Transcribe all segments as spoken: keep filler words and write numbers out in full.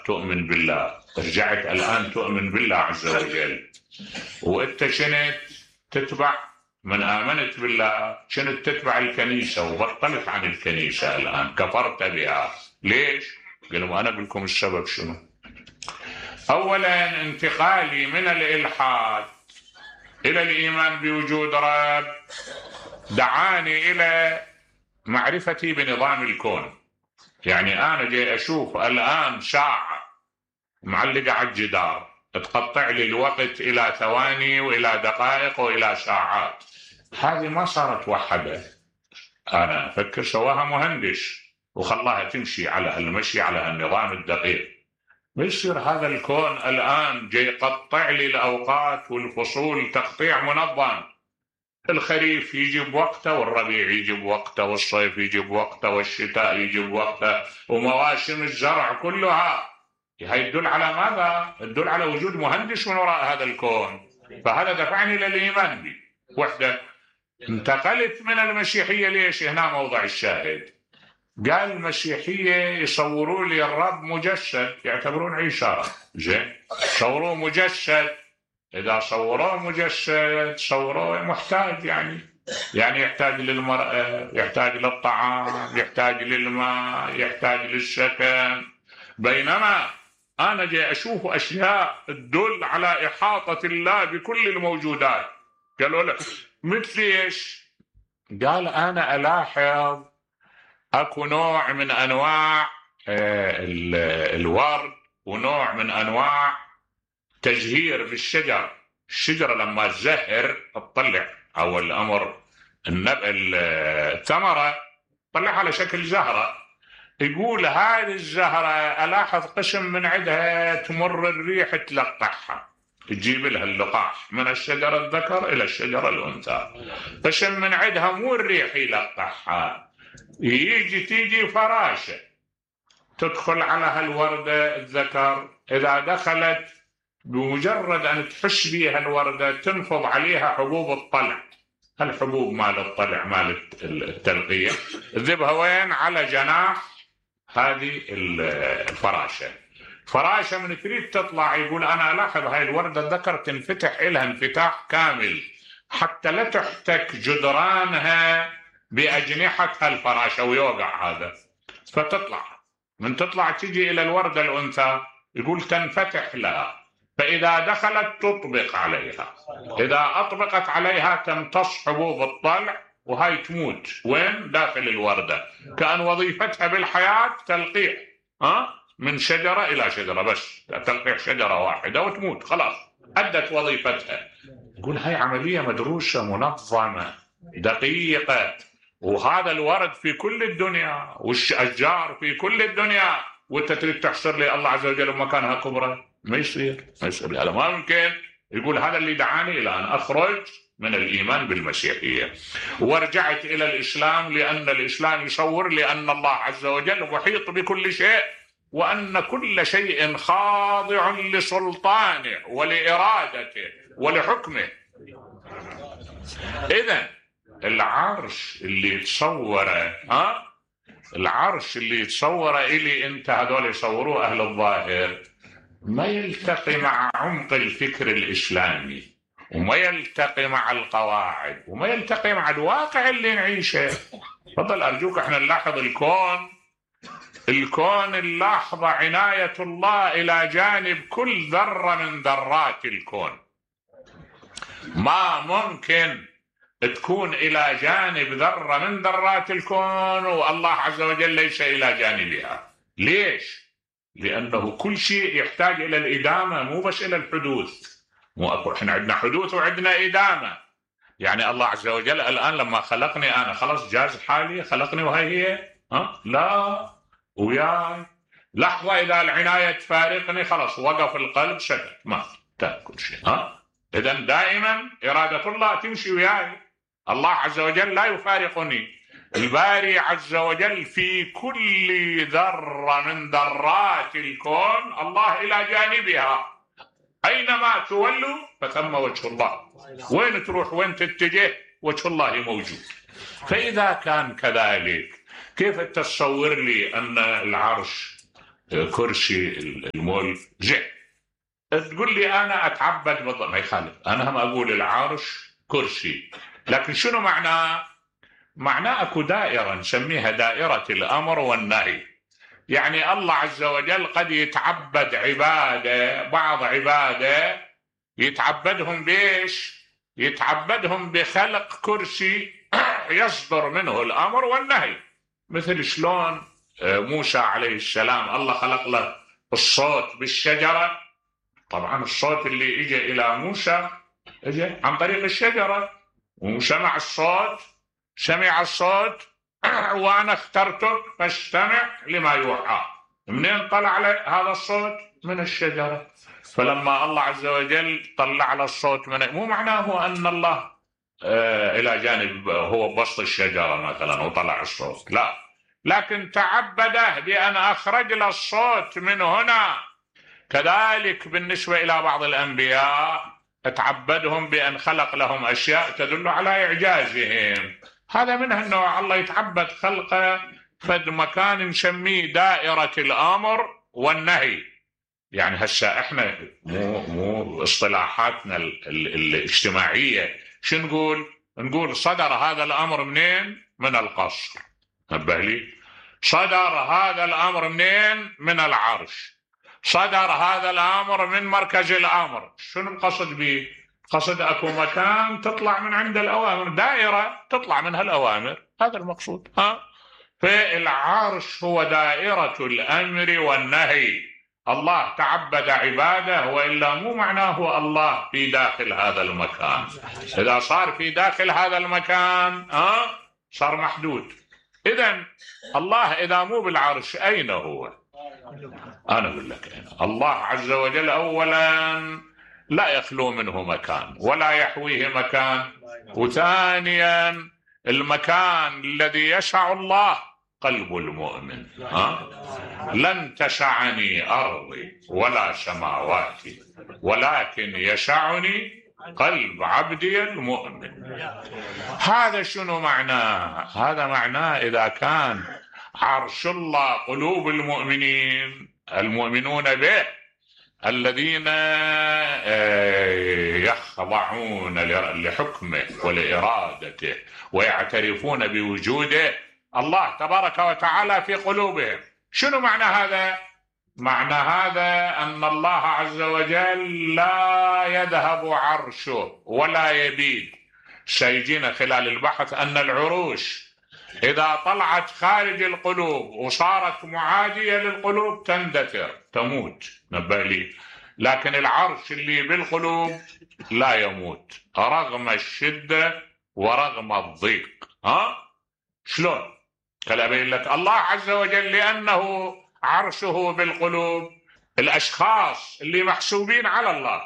سابق تؤمن بالله، رجعت الآن تؤمن بالله عز وجل، وأنت شنت تتبع من آمنت بالله، شنت تتبع الكنيسة وبطلت عن الكنيسة الآن، كفرت بها. ليش؟ قالوا أنا أقول لكم السبب شنو. أولا انتقالي من الإلحاد إلى الإيمان بوجود رب دعاني إلى معرفتي بنظام الكون. يعني أنا جاي أشوف الآن ساعة معلقة على الجدار تقطع لي الوقت إلى ثواني وإلى دقائق وإلى ساعات، هذه ما صارت وحدة، أنا أفكر سواها مهندس وخلاها تمشي على المشي على النظام الدقيق. بيصير هذا الكون الآن جاي يقطع لي الأوقات والفصول تقطيع منظم، الخريف يجي بوقته والربيع يجي بوقته والصيف يجي بوقته والشتاء يجي بوقته ومواسم الزرع كلها. هي تدل على ماذا؟ تدل على وجود مهندس من وراء هذا الكون. فهذا دفعني للإيمان به وحده. انتقلت من المسيحية. ليش؟ هنا موضع الشاهد. قال المسيحية يصوروا لي الرب مجسد، يعتبرون عيسى زين، صوروه مجسد. إذا صوروه مجسد صوروه محتاج، يعني يعني يحتاج للمرأة، يحتاج للطعام، يحتاج للماء، يحتاج للسكن. بينما أنا جاي أشوف أشياء تدل على إحاطة الله بكل الموجودات. قالوا له مثل إيش؟ قال أنا ألاحظ أكو نوع من أنواع الورد ونوع من أنواع تزهير في الشجر. الشجرة لما تزهر تطلع أول أمر الثمرة تطلع على شكل زهرة. يقول هذه الزهرة ألاحظ قسم من عندها تمر الريح تلقحها، تجيب لها اللقاح من الشجرة الذكر إلى الشجرة الأنثى. قسم من عندها مو الريح يلقحها، يجي تيجي فراشة تدخل على هالوردة الذكر، إذا دخلت بمجرد أن تحش بها الوردة تنفض عليها حبوب الطلع. الحبوب مال الطلع مال التلقية تذبها وين؟ على جناح هذه الفراشة. فراشة من تريد تطلع يقول أنا ألاحظ هاي الوردة الذكر تنفتح إلها انفتاح كامل حتى لا تحتك جدرانها بأجنحتها الفراشة ويوقع هذا، فتطلع. من تطلع تجي إلى الوردة الأنثى يقول تنفتح لها، فإذا دخلت تطبق عليها، إذا أطبقت عليها تمتص حبوب الطلع وهاي تموت وين؟ داخل الوردة. كأن وظيفتها بالحياة تلقيح ها من شجرة إلى شجرة، بس تلقيح شجرة واحدة وتموت، خلاص أدت وظيفتها. يقول هاي عملية مدروسة منظمة دقيقة، وهذا الورد في كل الدنيا والأشجار في كل الدنيا، وانت تريد تحصر لي الله عز وجل بمكانها كبرى؟ ما يصير، ما يصير، هذا ما يمكن. يقول هذا اللي دعاني إلى أن أخرج من الإيمان بالمسيحية ورجعت إلى الإسلام، لأن الإسلام يصور لأن الله عز وجل محيط بكل شيء، وأن كل شيء خاضع لسلطانه ولإرادته ولحكمه. إذن العرش اللي يتصوره ها العرش اللي يتصوره إلي أنت، هذول يصوروه أهل الظاهر، ما يلتقي مع عمق الفكر الإسلامي، وما يلتقي مع القواعد، وما يلتقي مع الواقع اللي نعيشه. فضل أرجوك احنا نلاحظ الكون الكون نلاحظ عناية الله إلى جانب كل ذرة من ذرات الكون. ما ممكن تكون إلى جانب ذرة من ذرات الكون والله عز وجل ليس إلى جانبها. ليش؟ لأنه كل شيء يحتاج إلى الإدامة، مو بس إلى الحدوث. مو أكو إحنا عندنا حدوث وعندنا إدامة. يعني الله عز وجل الآن لما خلقني أنا خلاص جاز حالي، خلقني وهي هي ها؟ لا، وياي لحظة إذا العناية تفارقني خلاص وقف القلب سكت، ما تأكل شيء. ها؟ إذن دائما إرادة الله تمشي وياي. الله عز وجل لا يفارقني. الباري عز وجل في كل ذرة من ذرات الكون الله إلى جانبها، أينما تولوا فثم وجه الله. وين تروح وين تتجه وجه الله موجود. فإذا كان كذلك كيف تصور لي أن العرش كرسي الملك جه. تقول لي أنا أتعبد بالضبط، ما يخالف، أنا هم أقول العرش كرسي، لكن شنو معناه؟ معناه أكو دائرة نسميها دائرة الأمر والنهي. يعني الله عز وجل قد يتعبد عبادة، بعض عبادة يتعبدهم بإيش؟ يتعبدهم بخلق كرسي يصدر منه الأمر والنهي. مثل شلون موسى عليه السلام الله خلق له الصوت بالشجرة. طبعا الصوت اللي اجى الى موسى اجى عن طريق الشجرة، وسمع الصوت، سمع الصوت وانا اخترتك فاستمع لما يوحى. منين طلع له هذا الصوت؟ من الشجرة. فلما الله عز وجل طلع له الصوت من، مو معناه ان الله آه الى جانب هو بسط الشجرة مثلا وطلع الصوت، لا، لكن تعبده بان اخرج له الصوت من هنا. كذلك بالنسبة إلى بعض الأنبياء تعبدهم بأن خلق لهم أشياء تدل على إعجازهم. هذا منها أنه الله يتعبد خلقه فد مكان نسميه دائرة الأمر والنهي. يعني هسه احنا مو مو اصطلاحاتنا ال ال الاجتماعية شو نقول؟ نقول صدر هذا الأمر منين؟ من القصر. نبه لي، صدر هذا الأمر منين؟ من العرش. صدر هذا الأمر من مركز الأمر. شنو القصد به؟ قصد أكو مكان تطلع من عند الأوامر، دائرة تطلع منها الأوامر، هذا المقصود. ها؟ فالعرش هو دائرة الأمر والنهي. الله تعبد عباده، وإلا مو معناه الله في داخل هذا المكان. إذا صار في داخل هذا المكان ها صار محدود. إذن الله إذا مو بالعرش أين هو؟ أنا أقول لك أنا. الله عز وجل أولا لا يخلو منه مكان ولا يحويه مكان، وثانيا المكان الذي يسع الله قلب المؤمن. ها؟ لن تسعني أرضي ولا سماواتي ولكن يسعني قلب عبدي المؤمن. هذا شنو معناه؟ هذا معناه إذا كان عرش الله قلوب المؤمنين، المؤمنون به الذين يخضعون لحكمه ولإرادته ويعترفون بوجوده الله تبارك وتعالى في قلوبهم. شنو معنى هذا؟ معنى هذا أن الله عز وجل لا يذهب عرشه ولا يبيد. سيجينا خلال البحث أن العروش إذا طلعت خارج القلوب وصارت معادية للقلوب تندثر تموت، نبه لي. لكن العرش اللي بالقلوب لا يموت رغم الشدة ورغم الضيق. ها؟ شلون؟ خلي أبين لك. الله عز وجل لأنه عرشه بالقلوب، الأشخاص اللي محسوبين على الله،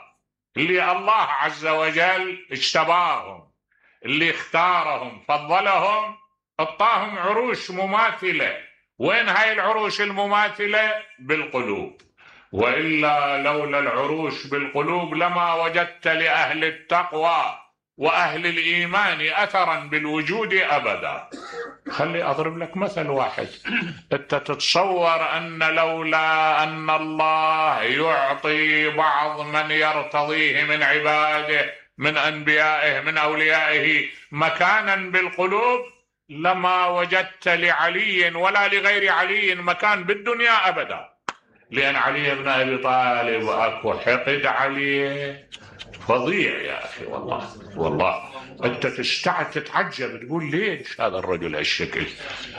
اللي الله عز وجل اجتباهم، اللي اختارهم فضلهم، اعطاهم عروش مماثلة. وين هاي العروش المماثلة؟ بالقلوب. وإلا لولا العروش بالقلوب لما وجدت لأهل التقوى وأهل الإيمان أثرا بالوجود أبدا. خلي أضرب لك مثل واحد. أنت تتصور أن لولا أن الله يعطي بعض من يرتضيه من عباده من أنبيائه من أوليائه مكانا بالقلوب لما وجدت لعلي ولا لغير علي مكان بالدنيا أبدا. لأن علي بن أبي طالب أكو حقد عليه فظيع يا أخي. والله والله أنت تستعد تتعجب تقول ليش هذا الرجل هالشكل.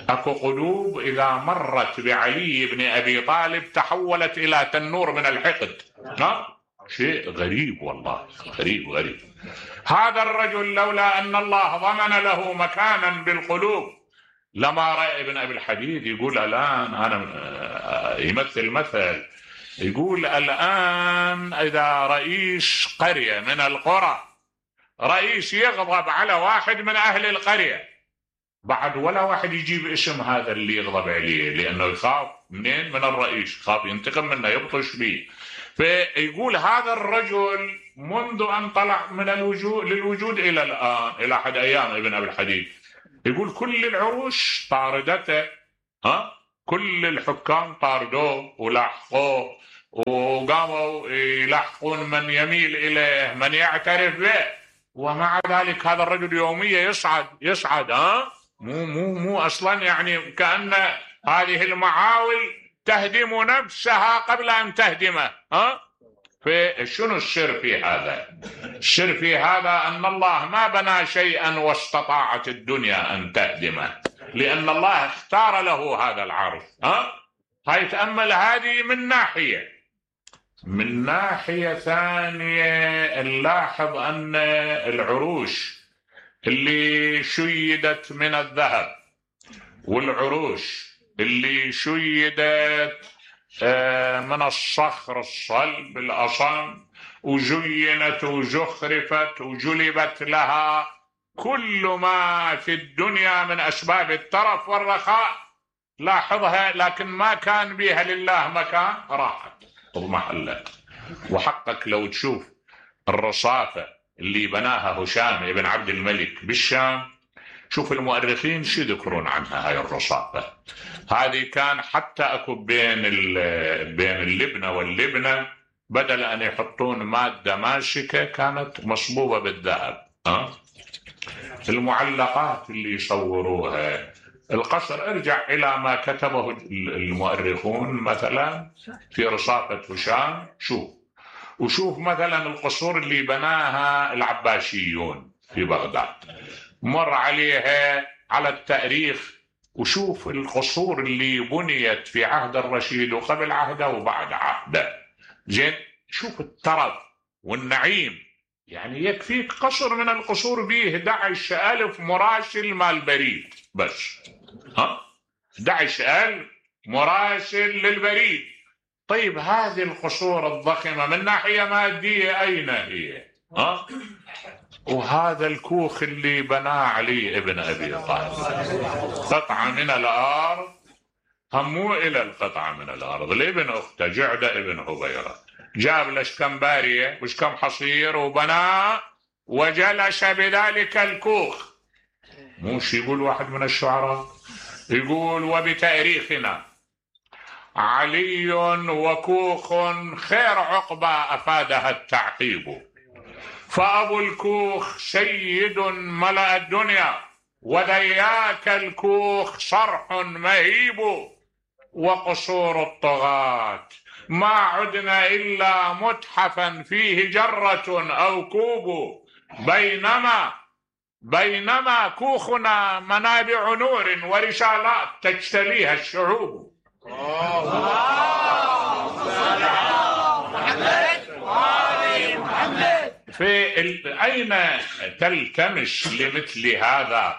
أكو قلوب إذا مرت بعلي بن أبي طالب تحولت إلى تنور من الحقد. ها؟ شيء غريب والله، غريب غريب. هذا الرجل لولا أن الله ضمن له مكانا بالقلوب لما رأى ابن أبي الحديد يقول الآن أنا يمثل مثل، يقول الآن إذا رئيس قرية من القرى رئيس يغضب على واحد من أهل القرية، بعد ولا واحد يجيب اسم هذا اللي يغضب عليه لأنه يخاف منين؟ من الرئيس، يخاف ينتقم منه يبطش به. فيقول هذا الرجل منذ أن طلع من الوجود للوجود إلى الآن إلى أحد أيام ابن أبي الحديد يقول كل العروش طاردته. ها؟ كل الحكام طاردوه ولاحقوه وقاموا يلاحقون من يميل إليه من يعترف به، ومع ذلك هذا الرجل يوميا يصعد يصعد ها مو مو مو أصلا يعني كأن هذه المعاول تهدم نفسها قبل أن تهدمه. ها فشنو السر في هذا؟ السر في هذا أن الله ما بنى شيئا واستطاعت الدنيا أن تهدمه، لأن الله اختار له هذا العرش. ها هاي تأمل هذه من ناحية. من ناحية ثانية نلاحظ أن العروش اللي شيدت من الذهب والعروش اللي شيدت من الصخر الصلب الأصم وزينت وزخرفت وجلبت لها كل ما في الدنيا من أسباب الترف والرخاء، لاحظها، لكن ما كان بها لله مكان، راحت اضمحلت. وحقك لو تشوف الرصافة اللي بناها هشام بن عبد الملك بالشام، شوف المؤرخين شو يذكرون عنها. هاي الرصافة هذه كان حتى اكو بين بين اللبنة واللبنة بدل ان يحطون مادة ماسكة كانت مصبوبة بالذهب. ها المعلقات اللي يصوروها، القصر، ارجع الى ما كتبه المؤرخون مثلا في رصافة هشام، شوف وشوف مثلا القصور اللي بناها العباسيون في بغداد، مر عليها على التاريخ وشوف القصور اللي بنيت في عهد الرشيد وقبل عهده وبعد عهده. زين، شوف الترف والنعيم، يعني يكفيك قصر من القصور به أحد عشر ألف مراسل مال بريد بس. ها أحد عشر ألف مراسل للبريد. طيب هذه القصور الضخمة من ناحية مادية أين هي؟ ها وهذا الكوخ اللي بناه علي ابن أبي طالب قطعة من الأرض، همو إلى القطعة من الأرض لابن أخته جعدة ابن هبيرة، جاب لش كم بارية وش كم حصير وبناه وجلس بذلك الكوخ. موش يقول واحد من الشعراء، يقول وبتاريخنا علي وكوخ خير عقبة أفادها التعقيب، فأبو الكوخ سيد ملأ الدنيا وذياك الكوخ صرح مهيب، وقصور الطغاة ما عدنا إلا متحفا فيه جرة أو كوب، بينما بينما كوخنا منابع نور ورسالات تجتليها الشعوب. في أين تلتمس لمثل هذا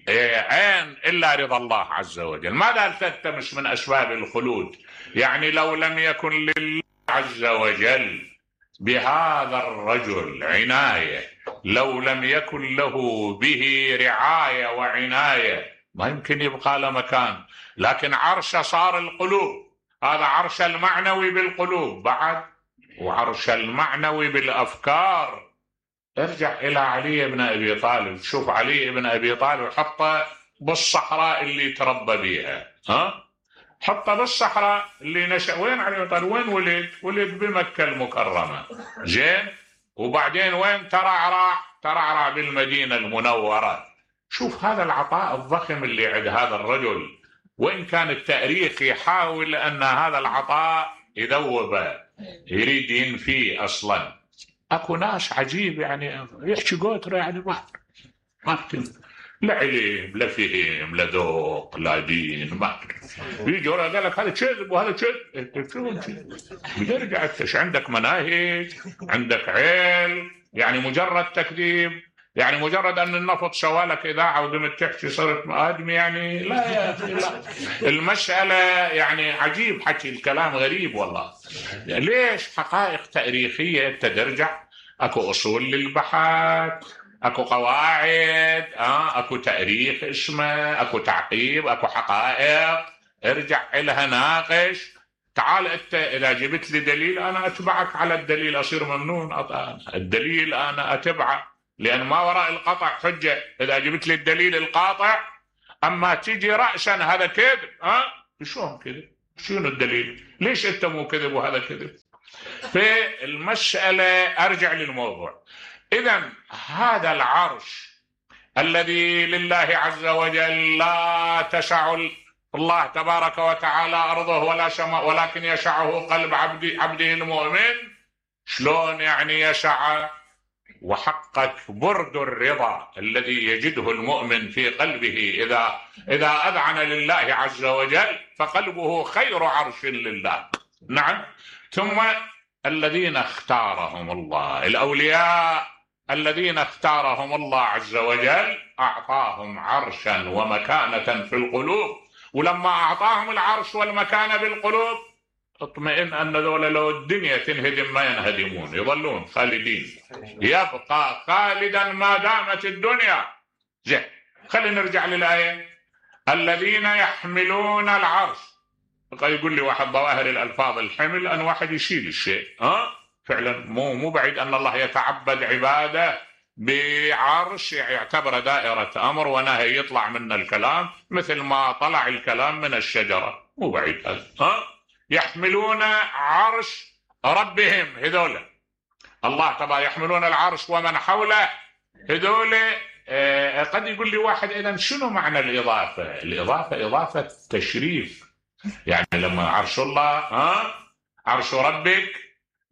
عين إلا رضا الله عز وجل؟ ماذا تلتمس من أسباب الخلود؟ يعني لو لم يكن لله عز وجل بهذا الرجل عناية، لو لم يكن له به رعاية وعناية، ما يمكن يبقى له مكان. لكن عرش صار القلوب، هذا عرش المعنوي بالقلوب بعد، وعرش المعنوي بالأفكار. ارجع إلى علي بن أبي طالب، شوف علي بن أبي طالب حطه بالصحراء اللي تربى بيها. ها حطه بالصحراء اللي نشأ. وين علي بن طالب؟ وين ولد؟ ولد بمكة المكرمة. زين، وبعدين وين ترعرع؟ ترعرع بالمدينة المنورة. شوف هذا العطاء الضخم اللي عند هذا الرجل، وإن كان التاريخ يحاول أن هذا العطاء يذوبه، يريد ينفيه. أصلا أكو ناس عجيب يعني يحكي قوتره، يعني ما ما لا علم لا فهم لا ذوق لا دين، ما يجي ورا قال لك هذا كذب وهذا كذب. شو بترجع ايش عندك؟ مناهج، عندك علم؟ يعني مجرد تكذيب، يعني مجرد ان النفط سوالك اذاعه وقمت تحكي صرت ادمي؟ يعني لا يا اخي، لا. المساله يعني عجيب، حكي الكلام غريب والله. ليش؟ حقائق تاريخيه انت ترجع، اكو اصول للبحث، اكو قواعد، اه اكو تاريخ اسمه، اكو تعقيب، اكو حقائق، ارجع لها ناقش. تعال انت اذا جبت لي دليل انا اتبعك على الدليل، اصير ممنون أطلع. الدليل انا اتبعه لان ما وراء القطع حجه اذا جبت لي الدليل القاطع. اما تيجي راسا هذا كذب، ها شلون كذب؟ شنو الدليل؟ ليش انت مو كذب وهذا كذب؟ في المسألة ارجع للموضوع. اذا هذا العرش الذي لله عز وجل لا تسع الله تبارك وتعالى ارضه ولا سماء، ولكن يسعه قلب عبد عبده المؤمن. شلون يعني يسع؟ وحقق برد الرضا الذي يجده المؤمن في قلبه إذا إذا أذعن لله عز وجل، فقلبه خير عرش لله. نعم. ثم الذين اختارهم الله، الأولياء الذين اختارهم الله عز وجل أعطاهم عرشا ومكانة في القلوب، ولما أعطاهم العرش والمكانة بالقلوب اطمئن أن ذولا لو الدنيا تنهدم ما ينهدمون، يظلون خالدين، يبقى خالدا ما دامت الدنيا. زين، خلينا نرجع للآية. الذين يحملون العرش. قد يقول لي واحد ظواهر الألفاظ الحمل أن واحد يشيل الشيء، ها فعلا مو مو بعيد أن الله يتعبد عباده بعرش يعتبر دائرة أمر ونهي، يطلع منه الكلام مثل ما طلع الكلام من الشجرة، مو بعيد هذا. ها يحملون عرش ربهم، هذول الله طبعا يحملون العرش ومن حوله، هذول. آه قد يقول لي واحد إذا شنو معنى الإضافة؟ الإضافة إضافة تشريف، يعني لما عرش الله ها عرش ربك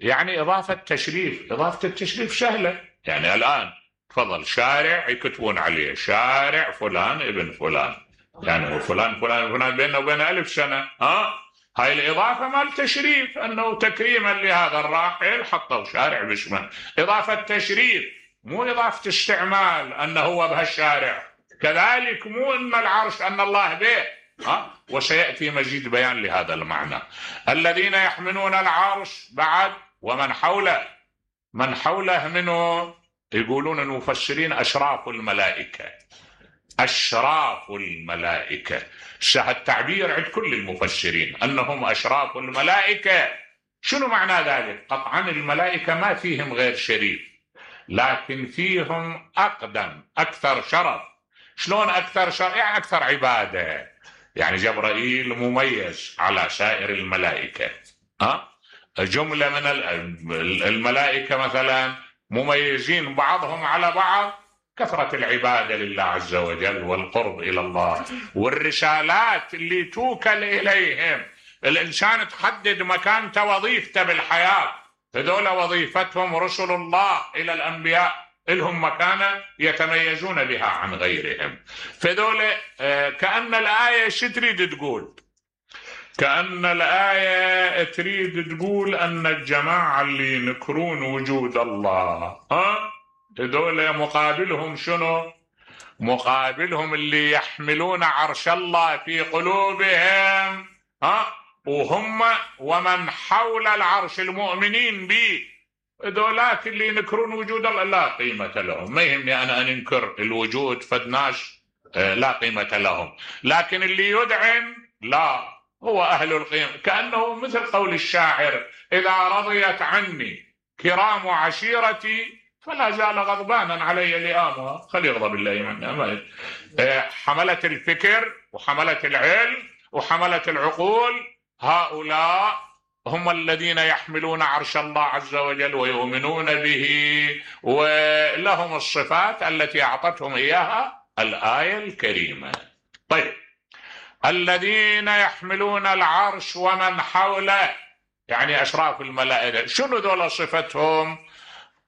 يعني إضافة تشريف. إضافة التشريف سهلة، يعني الآن تفضل شارع يكتبون عليه شارع فلان ابن فلان، يعني هو فلان فلان فلان بيننا وبين ألف سنة. ها هاي الإضافة مال تشريف، أنه تكريما لهذا الراحل حطوا شارع باسمه، إضافة تشريف مو إضافة استعمال أنه هو بهالشارع. كذلك مو أن العرش أن الله به، ها وسيأتي مزيد بيان لهذا المعنى. الذين يحملون العرش بعد ومن حوله. من حوله منه يقولون المفسرين أشراف الملائكة، أشراف الملائكة. التعبير عند كل المفسرين أنهم أشراف الملائكة. شنو معنى ذلك؟ قطعا الملائكة ما فيهم غير شريف، لكن فيهم أقدم أكثر شرف. شلون أكثر شرف؟ يعني أكثر عبادة. يعني جبرائيل مميز على سائر الملائكة. ها جملة من الملائكة مثلا مميزين بعضهم على بعض، كثرة العبادة لله عز وجل والقرب إلى الله والرسالات اللي توكل إليهم. الإنسان تحدد مكانته وظيفته بالحياة، هذول وظيفتهم رسل الله إلى الأنبياء، لهم مكانة يتميزون بها عن غيرهم. فذول كأن الآية شو تريد تقول؟ كأن الآية تريد تقول أن الجماعة اللي ينكرون وجود الله ها هذول مقابلهم شنو؟ مقابلهم اللي يحملون عرش الله في قلوبهم، ها وهم ومن حول العرش المؤمنين به. هذولاك اللي ينكرون وجود الله لا قيمة لهم. ما يهمني أنا أن أنكر الوجود فدناش لا قيمة لهم، لكن اللي يدعم لا، هو أهل القيم. كأنه مثل قول الشاعر: إذا رضيت عني كرام عشيرتي فلا زال غضبانا علي لئامها. خلي يغضب بالله منا. حملة الفكر وحملة العلم وحملة العقول، هؤلاء هم الذين يحملون عرش الله عز وجل ويؤمنون به، ولهم الصفات التي أعطتهم إياها الآية الكريمة. طيب، الذين يحملون العرش ومن حوله يعني أشراف الملائكة. شنو ذول صفتهم؟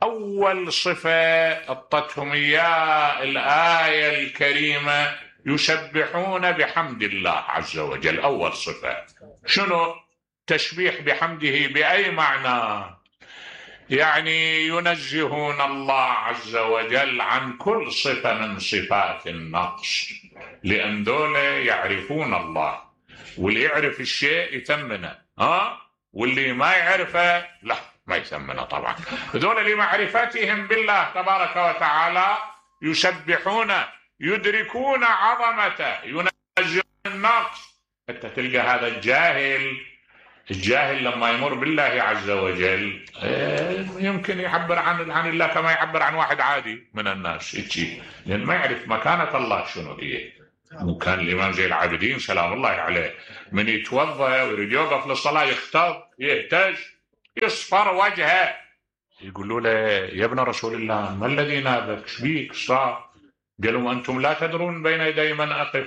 أول صفة أعطتهم إياه الآية الكريمة: يسبحون بحمد الله عز وجل. أول صفة شنو؟ تسبيح بحمده. بأي معنى؟ يعني ينزهون الله عز وجل عن كل صفة من صفات النقص، لأن دول يعرفون الله، واللي يعرف الشيء يثمنه، ها واللي ما يعرفه لا ما يثمنه طبعا. دول لمعرفتهم بالله تبارك وتعالى يسبحون، يدركون عظمته، ينزهون النقص. انت تلقى هذا الجاهل الجاهل لما يمر بالله عز وجل يمكن يعبر عن عن الله كما يعبر عن واحد عادي من الناس، يجي لأن ما يعرف مكانة الله شنو هي. وكان الإمام زين العابدين سلام الله عليه من يتوضأ ويريد يوقف للصلاة يختض يهتز يصفر وجهه، يقولوا له يا ابن رسول الله ما الذي نابك؟ ايش بيك؟ صار؟ قالوا أنتم لا تدرون بين يدي من أقف،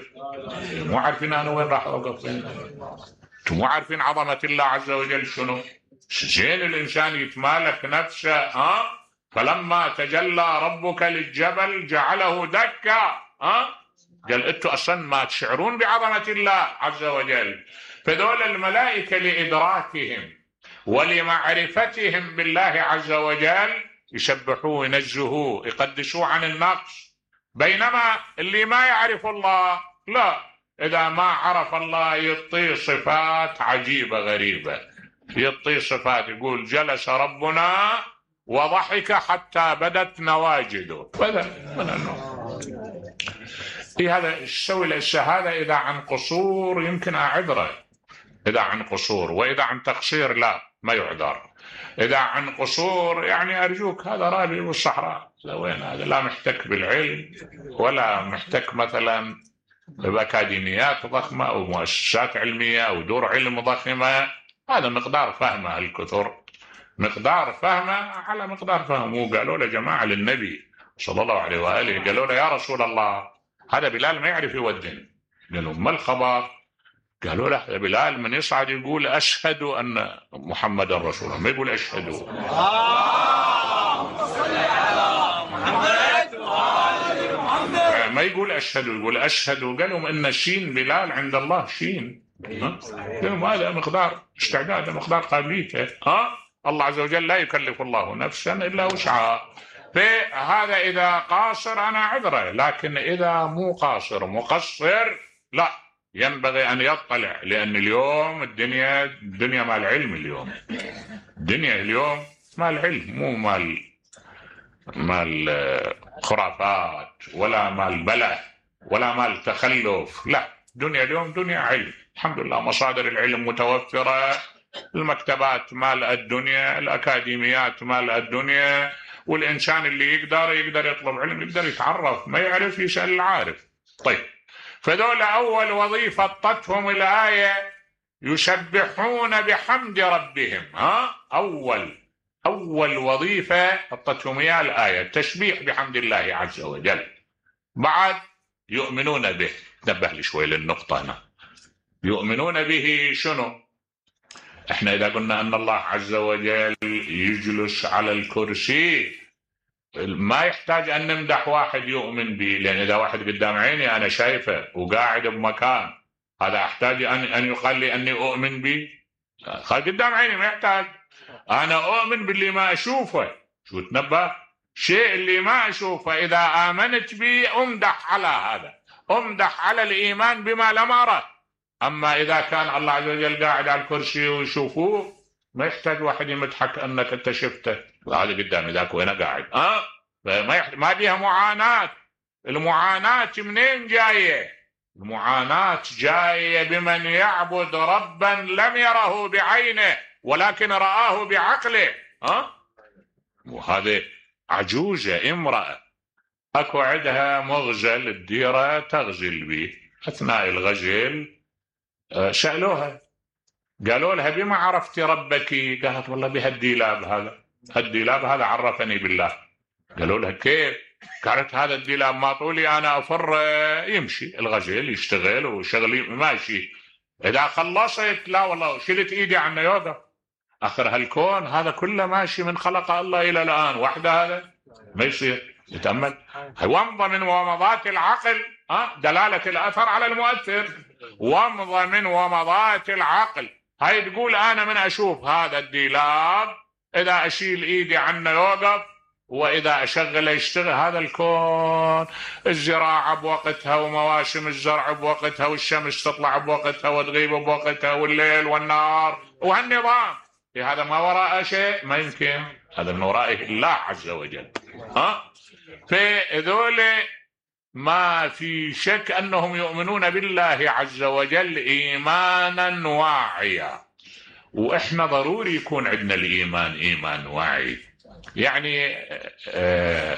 مو عارفين أنا وين راح أوقف، أنتم مو عارفين عظمة الله عز وجل شنو. زين الإنسان يتمالك نفسه. ها فلما تجلى ربك للجبل جعله دكا. ها قال أنتم أصلا ما تشعرون بعظمة الله عز وجل. فذول الملائكة لإدراكهم ولمعرفتهم بالله عز وجل يسبحوه ينزهوه يقدسوه عن النقص، بينما اللي ما يعرف الله لا، إذا ما عرف الله يعطيه صفات عجيبة غريبة، يعطيه صفات يقول جلس ربنا وضحك حتى بدت نواجده. بدأ من النوم. إيه هذا السوي هذا إذا عن قصور يمكن أعذره، إذا عن قصور، وإذا عن تقصير لا ما يعذر. إذا عن قصور يعني أرجوك هذا رابي والصحراء، وين هذا لا محتك بالعلم ولا محتك مثلا بأكاديميات ضخمة أو مؤسسات علمية أو دور علم ضخمة، هذا مقدار فهمه الكثر، مقدار فهمه على مقدار فهمه. قالوا له جماعة للنبي صلى الله عليه وآله، قالوا له يا رسول الله هذا بلال ما يعرف يودن. قالوا ما الخبر؟ قالوا له بلال من يصعد يقول أشهد أن محمد رسول الله، ما يقول أشهد. ما يقول أشهد، يقول أشهد. قالوا إن شين بلال عند الله شين. قالوا هذا مقدار استعداد، مقدار قابليته. ها الله عز وجل لا يكلف الله نفسا إلا وسعها. فهذا إذا قاصر أنا عذره، لكن إذا مو قاصر مقصر لا، ينبغي أن يطلع، لأن اليوم الدنيا الدنيا مال علم. اليوم الدنيا اليوم مال علم، مو مال مال خرافات ولا مال بلع ولا مال تخلف. لا، الدنيا اليوم دنيا علم الحمد لله، مصادر العلم متوفرة، المكتبات مال الدنيا، الأكاديميات مال الدنيا، والإنسان اللي يقدر يقدر يطلب علم، يقدر يتعرف، ما يعرف يسأل العارف. طيب فذول أول وظيفة طتهم الآية يسبحون بحمد ربهم. ها أول أول وظيفة حطتهم إياها الآية التسبيح بحمد الله عز وجل. بعد يؤمنون به، نبه لي شوي للنقطة هنا، يؤمنون به شنو؟ احنا إذا قلنا أن الله عز وجل يجلس على الكرسي ما يحتاج أن نمدح واحد يؤمن به، لأن إذا واحد قدام عيني أنا شايفه وقاعد بمكان، هذا أحتاج أن أن يقال لي أني أؤمن به؟ قدام عيني ما يحتاج. أنا أؤمن باللي ما أشوفه. شو تنبه؟ شيء اللي ما أشوفه إذا آمنت به أمدح على هذا، أمدح على الإيمان بما لم أره. أما إذا كان الله عز وجل قاعد على الكرسي ويشوفوه ما يحتاج واحد يمدحك أنك أنت شفته، هذا قدامي ذاك وين قاعد. أه؟ ما يحتاج، ما بيها معاناة. المعاناة منين جاية؟ المعاناة جاية بمن يعبد ربا لم يره بعينه ولكن رآه بعقله. أه؟ وهذه عجوزة امرأة أكو عندها مغزل الديرة تغزل به، أثناء الغزل سألوها قالوا لها بما عرفتي ربك؟ قالت والله بهالديلاب هذا، هالديلاب هذا عرفني بالله. قالوا لها كيف؟ قالت هذا الديلاب ما طولي أنا أفر يمشي الغزل يشتغل وشغلي ماشي، إذا خلصت لا والله شلت إيدي عنه يوقف. آخر هالكون هذا كله ماشي من خلق الله إلى الآن وحده، هذا ما يصير. يتأمل ومضى من ومضات العقل. أه؟ دلالة الأثر على المؤثر، ومضى من ومضات العقل. هاي تقول أنا من أشوف هذا الديلاب إذا أشيل إيدي عنه يوقف، وإذا أشغله يشتغل. هذا الكون الزراعة بوقتها ومواسم الزرع بوقتها والشمس تطلع بوقتها وتغيب بوقتها والليل والنهار وهالنظام، هذا ما وراء شيء، ما يمكن. هذا من ورائه الله عز وجل. ها فذول ما في شك أنهم يؤمنون بالله عز وجل إيمانا واعيا، وإحنا ضروري يكون عندنا الإيمان إيمان واعي. يعني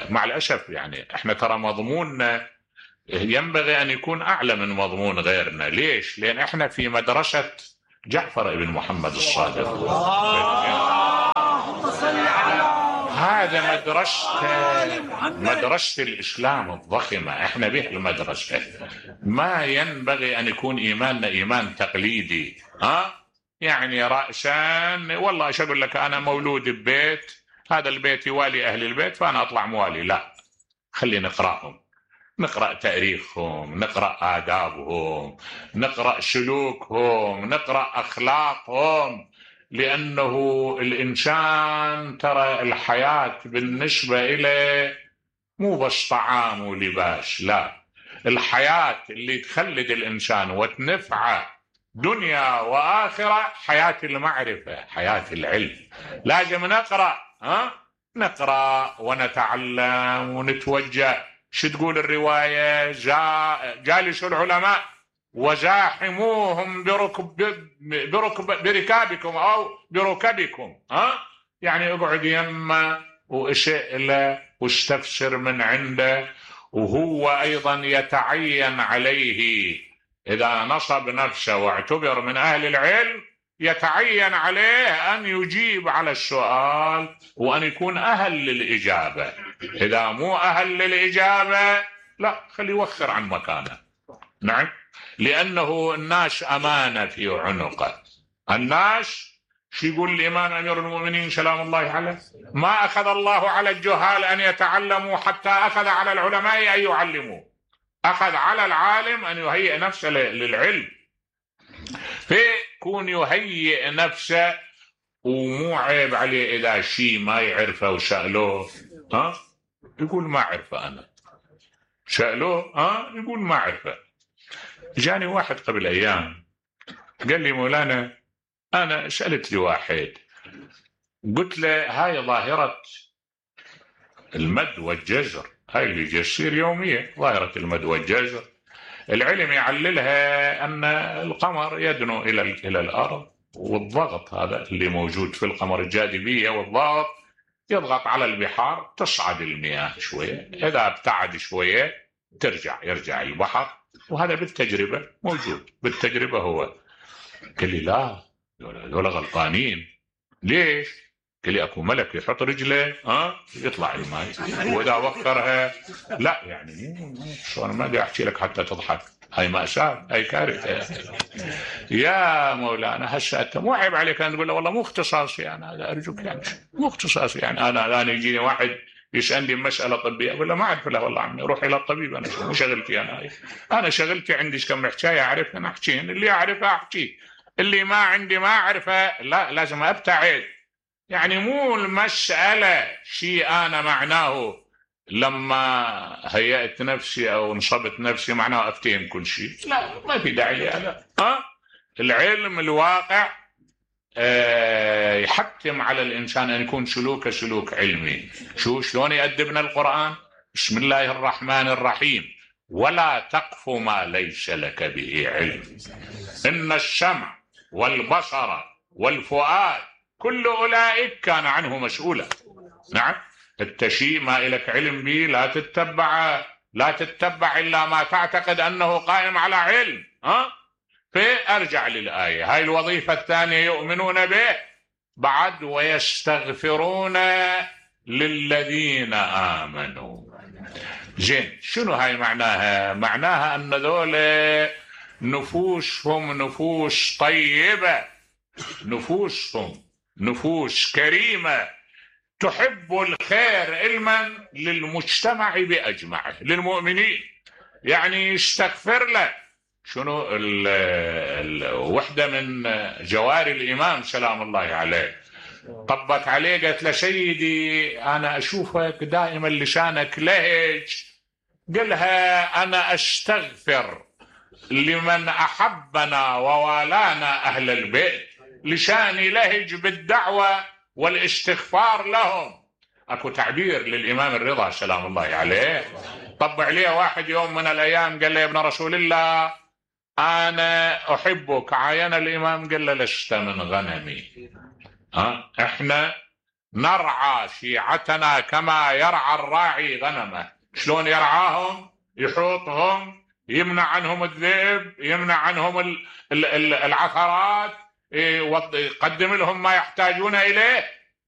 مع الأسف يعني إحنا ترى مضموننا ينبغي أن يكون أعلى من مضمون غيرنا. ليش؟ لأن إحنا في مدرسة جعفر بن محمد الصادق، هذا مدرسة مدرسة الإسلام الضخمة، إحنا به المدرسة. ما ينبغي أن يكون إيماننا إيمان تقليدي، ها؟ يعني رأسان والله إيش أقول لك، أنا مولود ببيت، هذا البيت يوالي أهل البيت فأنا أطلع موالي. لا، خلينا نقرأهم، نقرأ تاريخهم، نقرأ آدابهم، نقرأ سلوكهم، نقرأ أخلاقهم. لأنه الإنسان ترى الحياة بالنسبة إليه مو بس طعام ولباس، لا، الحياة اللي تخلد الإنسان وتنفعه دنيا وآخرة حياة المعرفة، حياة العلم. لازم نقرأ، ها؟ نقرأ ونتعلم ونتوجه. شو تقول الرواية؟ جا جالسوا العلماء وزاحموهم بركب بركب بركابكم أو بركبكم، ها؟ يعني اقعد يمه واشئله واستفسر من عنده. وهو أيضا يتعين عليه إذا نصب نفسه واعتبر من أهل العلم، يتعين عليه أن يجيب على السؤال وأن يكون أهل للإجابة. إذا مو أهل للإجابة لا، خليه يوخر عن مكانه. نعم، لأنه الناس أمانة في عنقه. الناس شو يقول الإمام أمير المؤمنين سلام الله عليه؟ ما أخذ الله على الجهال أن يتعلموا حتى أخذ على العلماء أن يعلموا. أخذ على العالم أن يهيئ نفسه للعلم، فيكون يهيئ نفسه ومو عيب عليه إذا شيء ما يعرفه وسألوه، ها؟ يقول ما أعرفه أنا. سألوه، ها؟ يقول ما أعرفه. جاني واحد قبل أيام قال لي مولانا أنا سألت لي واحد، قلت له هاي ظاهرة المد والجزر، هاي اللي جسير يومية، ظاهرة المد والجزر، العلم يعللها أن القمر يدنو إلى إلى الأرض، والضغط هذا اللي موجود في القمر، الجاذبية والضغط يضغط على البحار، تصعد المياه شوية، إذا ابتعد شوية ترجع يرجع البحر، وهذا بالتجربة موجود، بالتجربة هو. قال لي لا، دول غلطانين. ليش؟ قال لي اكو ملك يحط رجله ها يطلع الماء، واذا وقرها لا، يعني شو انا ما بدي احكي لك حتى تضحك، هاي مأساة، هاي كارثة. يا مولانا هسه انت مو عيب عليك ان تقول له والله مو اختصاصي انا هذا، ارجوك يعني مو اختصاصي، يعني انا انا يجيني واحد يسالني مساله طبيه اقول له ما اعرف له والله عمي، روح الى الطبيب، انا مو شغلتي انا هاي. انا شغلتي عندي كم حكايه اعرف انا احكي، اللي اعرفه احكي، اللي ما عندي ما اعرفه لا، لازم ابتعد. يعني مو المساله شيء انا معناه لما هيأت نفسي او نصبت نفسي معناه افتهم كل شيء، لا، ما في داعي لهذا. ها، العلم الواقع آه يحتم على الانسان ان يكون سلوكه سلوك علمي. شو شلون يأدبنا القرآن؟ بسم الله الرحمن الرحيم، ولا تقف ما ليس لك به علم، ان السمع والبصر والفؤاد كل اولئك كان عنه مسؤولا. نعم، التشيء ما إلك علم به لا تتبع، لا تتبع إلا ما تعتقد أنه قائم على علم. ها؟ فأرجع للآية هاي. الوظيفة الثانية يؤمنون به بعد ويستغفرون للذين آمنوا. زين، شنو هاي معناها؟ معناها أن ذول نفوسهم نفوس طيبة، نفوسهم نفوس كريمة تحب الخير علما للمجتمع بأجمعه، للمؤمنين، يعني يستغفر له. شنو الوحدة من جواري الإمام سلام الله عليه طبت عليه قالت له سيدي أنا أشوفك دائما لسانك لهج، قالها أنا أستغفر لمن أحبنا ووالانا أهل البيت، لساني لهج بالدعوة والاستغفار لهم. اكو تعبير للامام الرضا سلام الله عليه طبع عليه واحد يوم من الايام قال له يا ابن رسول الله انا احبك، عاين الامام قال له لست من غنمي. ها، احنا نرعى شيعتنا كما يرعى الراعي غنمه. شلون يرعاهم؟ يحوطهم، يمنع عنهم الذئب، يمنع عنهم العثرات، يقدم لهم ما يحتاجون إليه.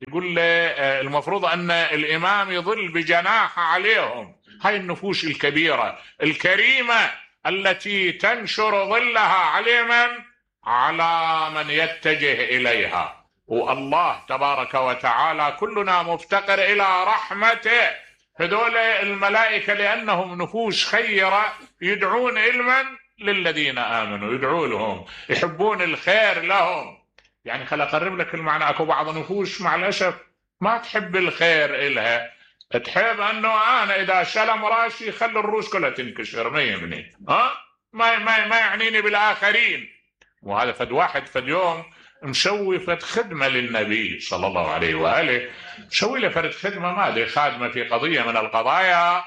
يقول المفروض أن الإمام يظل بجناح عليهم. هاي النفوس الكبيرة الكريمة التي تنشر ظلها على من؟ على من يتجه إليها. والله تبارك وتعالى كلنا مفتقر إلى رحمته. هذول الملائكة لأنهم نفوس خيرة يدعون علما للذين آمنوا، يدعوا لهم، يحبون الخير لهم. يعني خل أقرب لك المعنى. أكو بعض نفوس مع الأسف ما تحب الخير إلها، تحب أنه أنا إذا شلم راسي خلي الروس كلها تنكسر، ما يهمني، ها ما ما ما يعنيني بالآخرين. وهذا فد واحد فد يوم مسوي فد خدمة للنبي صلى الله عليه وآله، مسوي له فرد خدمة، ما أدري خادمة في قضية من القضايا،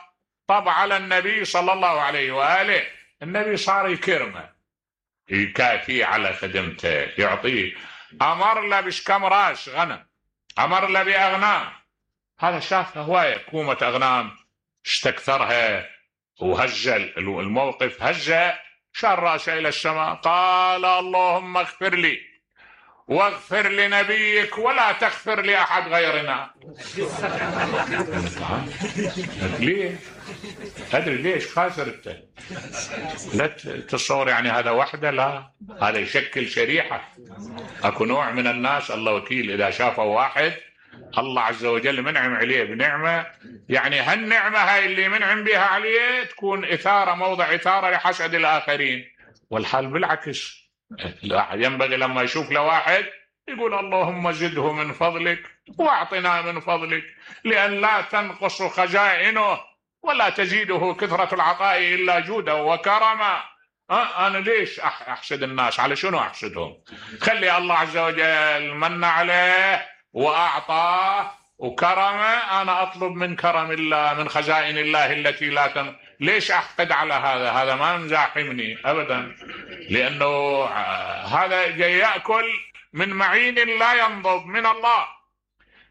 طب على النبي صلى الله عليه وآله. النبي صار يكرمه، يكافيه على خدمته، يعطيه، أمر له بشكم راس غنم، أمر له بأغنام. هذا شافها هواية كومة أغنام، استكثرها وهج الموقف، هج شار راسه إلى السماء، قال اللهم اغفر لي واغفر لنبيك ولا تغفر لأحد غيرنا. ليه؟ أدري ليش خاسر انت؟ لا تتصور يعني هذا وحده، لا، هذا يشكل شريحة. أكو نوع من الناس الله وكيل إذا شافوا واحد الله عز وجل منعم عليه بنعمة، يعني هالنعمة هاي اللي منعم بها عليه تكون إثارة، موضع إثارة لحسد الآخرين. والحال بالعكس، ينبغي لما يشوف لواحد يقول اللهم زده من فضلك واعطنا من فضلك، لأن لا تنقص خزائنه ولا تزيده كثرة العطاء إلا جودا وكرما. أه أنا ليش أحسد الناس؟ على شنو أحسدهم؟ خلي الله عز وجل من عليه وأعطاه وكرمه، أنا أطلب من كرم الله، من خزائن الله التي لا تن... ليش أحقد على هذا؟ هذا ما مزاحمني أبدا، لأنه هذا جاي يأكل من معين لا ينضب من الله.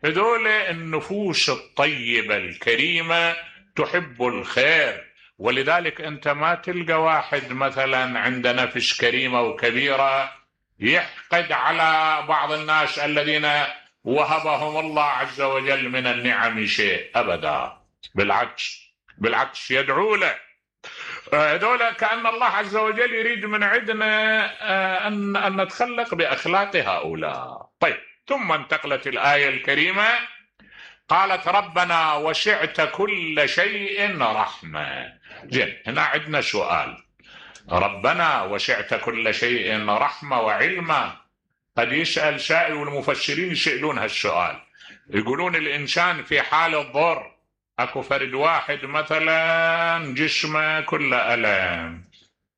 هذول النفوس الطيبة الكريمة تحب الخير، ولذلك أنت ما تلقى واحد مثلا عنده نفس كريمة وكبيرة يحقد على بعض الناس الذين وهبهم الله عز وجل من النعم شيء أبدا، بالعكس بالعكس يدعو له. هذول كأن الله عز وجل يريد من عندنا أن أن نتخلق بأخلاق هؤلاء. طيب، ثم انتقلت الآية الكريمة قالت ربنا وسعت كل شيء رحمة. زين، هنا عندنا سؤال، ربنا وسعت كل شيء رحمة وعلما. قد يسأل سائل، والمفسرين يسألون هالسؤال، يقولون الإنسان في حال الضر، أكو فرد واحد مثلا جسمه كله ألم،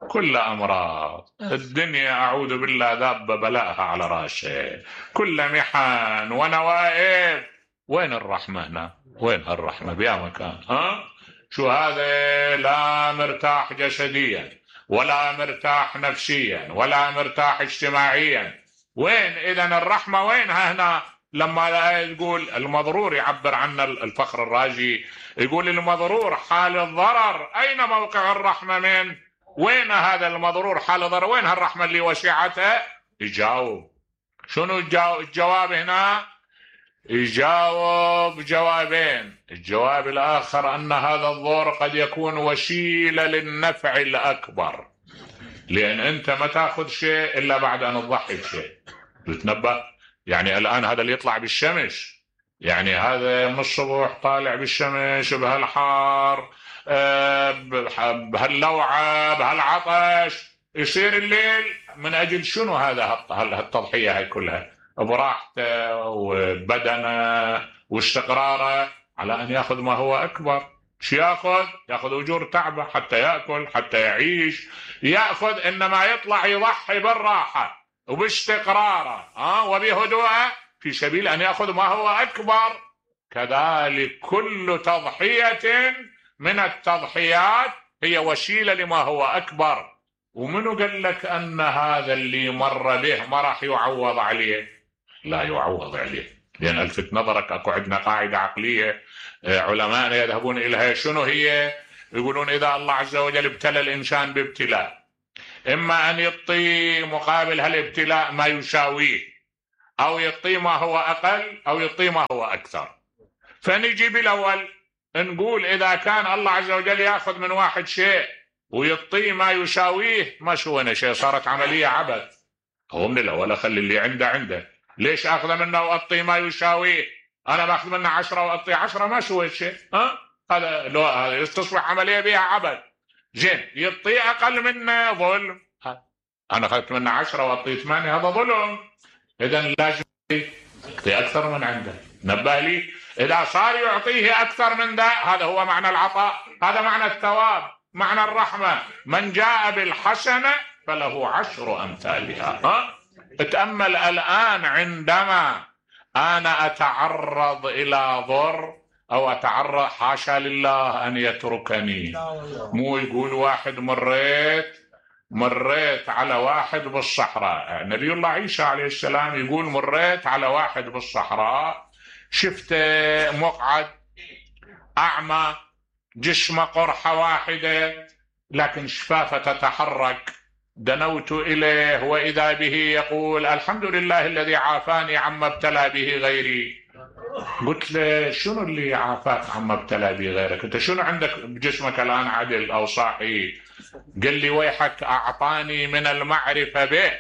كل أمراض الدنيا أعوذ بالله ذاب بلاءها على راسه، كل محن ونوائب، وين الرحمة هنا؟ وين الرحمة بيا مكان؟ ها؟ شو هذا؟ لا مرتاح جسديا ولا مرتاح نفسيا ولا مرتاح اجتماعيا، وين إذن الرحمة؟ وينها هنا؟ لما يقول المضرور، يعبر عنه الفخر الرازي، يقول المضرور حال الضرر أين موقع الرحمة؟ من وين هذا المضرور حال الضرر؟ وين هالرحمة اللي وسعته؟ يجاوب شنو الجواب هنا؟ يجاوب جوابين. الجواب الآخر أن هذا الضر قد يكون وسيلة للنفع الأكبر، لأن أنت ما تأخذ شيء إلا بعد أن تضحي بشيء. تتنبأ يعني الآن هذا اللي يطلع بالشمس، يعني هذا من الصبح طالع بالشمس بهالحار بهاللوعة بهالعطش، يصير الليل من أجل شنو هذا هالتضحية هاي كلها؟ براحته وبدنه واستقراره على أن يأخذ ما هو أكبر. شو يأخذ؟ يأخذ أجور تعبه حتى يأكل حتى يعيش، يأخذ إنما يطلع يضحي بالراحة وباستقراره أه وبهدوءه في سبيل أن يأخذ ما هو أكبر. كذلك كل تضحية من التضحيات هي وسيلة لما هو أكبر. ومنو قال لك أن هذا اللي مر به ما راح يعوض عليه؟ لا يعوض عليه، لأن ألفت نظرك أكو عندنا قاعدة عقلية علماء يذهبون إليها، شنو هي؟ يقولون إذا الله عز وجل ابتلى الإنسان بابتلاء، إما أن يعطي مقابل هالابتلاء ما يساويه، أو يعطي ما هو أقل، أو يعطي ما هو أكثر. فنجي بالأول نقول إذا كان الله عز وجل يأخذ من واحد شيء ويعطيه ما يساويه، ما سوينا شيء، صارت عملية عبث. هو من الأول أخلي اللي عنده عنده، ليش أخذ منه وأعطيه ما يساويه؟ أنا باخذ منه عشرة وأعطيه عشرة، ما سويت شيء. ها هذا لو هذا تصبح عملية بها عبث. زين يعطيه أقل منه ظلم، أنا أخذت منه عشرة وأعطيه ثمانية، هذا ظلم. إذا لازم يعطي أكثر من عنده. نبه لي، إذا صار يعطيه أكثر من ذا، هذا هو معنى العطاء، هذا معنى الثواب، معنى الرحمة. من جاء بالحسنة فله عشر أمثالها. ها؟ اتأمل الآن عندما أنا أتعرض إلى ضر أو أتعرض، حاشا لله أن يتركني، مو يقول واحد مريت مريت على واحد بالصحراء، نبي الله عيسى عليه السلام يقول مريت على واحد بالصحراء، شفت مقعد أعمى، جسمه قرحة واحدة لكن شفافة تتحرك، دنوت إليه وإذا به يقول الحمد لله الذي عافاني عما ابتلى به غيري. قلت له شنو اللي عافاك عما ابتلى به غيرك؟ انت شنو عندك بجسمك الآن عدل أو صحي؟ قال لي ويحك أعطاني من المعرفة به،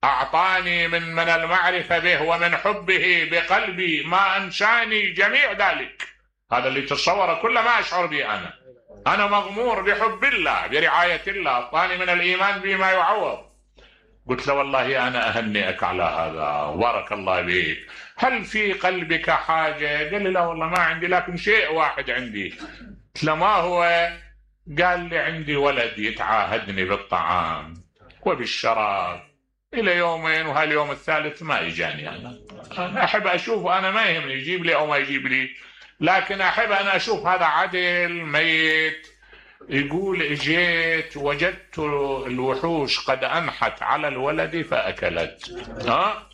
أعطاني من من المعرفة به ومن حبه بقلبي ما أنساني جميع ذلك. هذا اللي تصوره كل ما أشعر به أنا أنا مغمور بحب الله برعاية الله، أعطاني من الإيمان بما يعوض. قلت له والله أنا أهنئك على هذا، بارك الله بك، هل في قلبك حاجة؟ قال لي لا والله ما عندي، لكن شيء واحد عندي. قلت له ما هو؟ قال لي عندي ولد يتعاهدني بالطعام وبالشراب إلى يومين، وهاليوم الثالث ما إجاني. أنا أنا أحب أشوف، أنا ما يهمني يجيب لي أو ما يجيب لي، لكن أحب أنا أشوف هذا عدل ميت. يقول اجيت وجدت الوحوش قد أنحت على الولد فأكلت. ها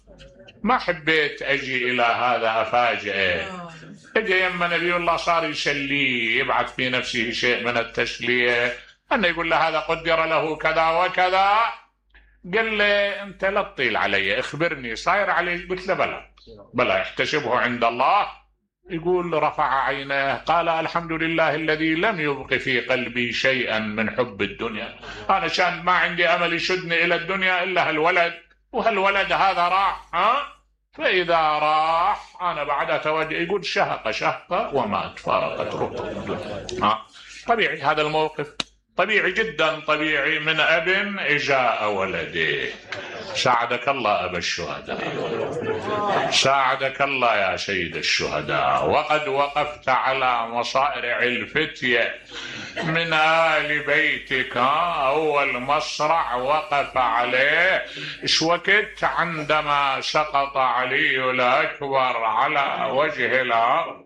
ما حبيت أجي إلى هذا أفاجئه. اجى يما نبي الله صار يسليه، يبعث في نفسه شيء من التسلية، أنه يقول له هذا قدر له كذا وكذا. قال لي أنت لا تطيل علي، اخبرني صاير علي. قلت له بلى بلى احتسبه عند الله. يقول رفع عيناه قال الحمد لله الذي لم يبق في قلبي شيئا من حب الدنيا. أنا كان ما عندي أمل يشدني إلى الدنيا إلا هالولد، وهالولد هذا راح. ها فإذا راح أنا بعد أتوجه. يقول شهق شهقة ومات، فارقت رطب. ها طبيعي هذا الموقف، طبيعي جدا طبيعي، من أب إجاء ولده. ساعدك الله أبا الشهداء، ساعدك الله يا سيد الشهداء. وقد وقفت على مصارع الفتية من آل بيتك، أول مصرع وقف عليه إيش وقت؟ عندما سقط علي الأكبر على وجه الأرض،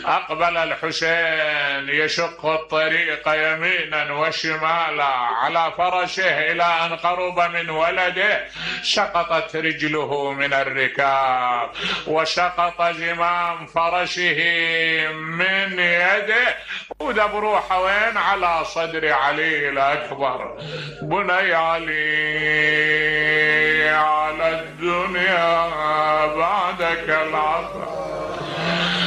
أقبل الحسين يشق الطريق يمينا وشمالا على فرشه إلى أن قرب من ولده، سقطت رجله من الركاب وسقط زمام فرشه من يده، ودب روحه وين؟ على صدر علي الأكبر. بني علي على الدنيا بعدك العطاء